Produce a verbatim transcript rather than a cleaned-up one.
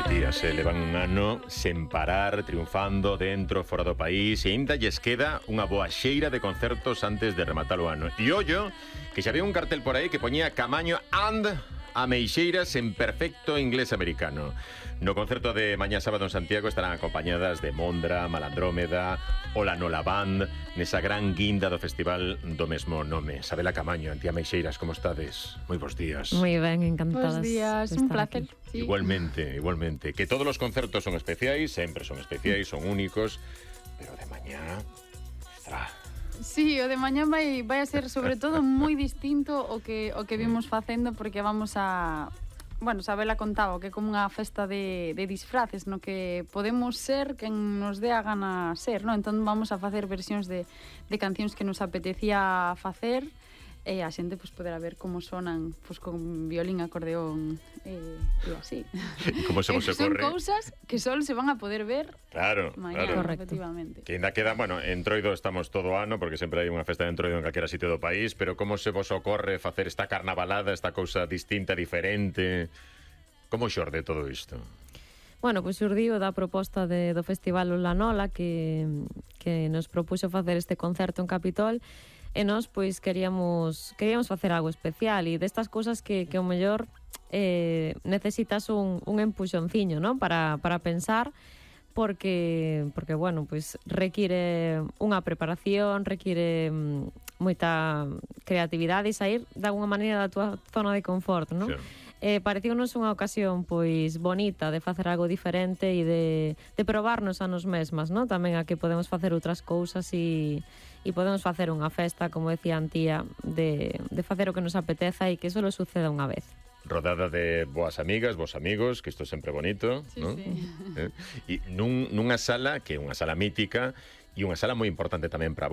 Que tías, eh, levan un ano sen parar, triunfando dentro, fora do país, e ainda lles queda unha boa xeira de concertos antes de rematar o ano. E ollo, que xa había un cartel por aí que poñía Camaño and Ameixeiras en perfecto inglés americano. No concerto de mañá sábado en Santiago estarán acompañadas de Mondra, Malandrómeda, Ola Nola Band, nesa gran guinda do festival do mesmo nome. Sabela Camaño, Antía Ameixeiras, como estades? Moi bons días. Moi ben, encantadas. Bos días, un placer. Sí. Igualmente, igualmente. Que todos os concertos son especiais, sempre son especiais, son únicos, pero de mañá... Estra... Sí, o de mañá vai, vai a ser sobre todo moi distinto o que, o que vimos facendo, porque vamos a... Bueno, Sabela contaba que é como unha festa de, de disfraces, no que podemos ser quen nos dé a gana ser, no? Entón vamos a facer versións de, de cancións que nos apetecía facer, e a xente pues, poderá ver como sonan pues, con violín, acordeón e, e así. E como se vos Son ocorre? cousas que só se van a poder ver Claro, mañá, claro. efectivamente. Que ainda queda, bueno, en Troido estamos todo ano, porque sempre hai unha festa de Entroido en calquera sitio do país, pero como se vos ocorre facer esta carnavalada, esta cousa distinta, diferente? Como xorde todo isto? Bueno, pois xurdiu da proposta de, do Festival Ola Nola que, que nos propuxo facer este concerto en Capitol, e nós pois queríamos queríamos facer algo especial, e destas cousas que, que o mellor eh, necesitas un, un empuxonciño, ¿no? para, para pensar, porque, porque bueno, pois require unha preparación, require mm, moita creatividade e sair de alguna maneira da túa zona de confort, ¿no? Claro. Eh, pareceunos unha ocasión pois bonita de facer algo diferente e de, de probarnos a nos mesmas, ¿no? Tamén a que podemos facer outras cousas e, e podemos facer unha festa, como decía Antía, de, de facer o que nos apeteza e que só suceda unha vez. Rodada de boas amigas, vos amigos, que isto é sempre bonito, Sí, ¿no? sí. Eh? E nun, nunha sala que é unha sala mítica e unha sala moi importante tamén para vos.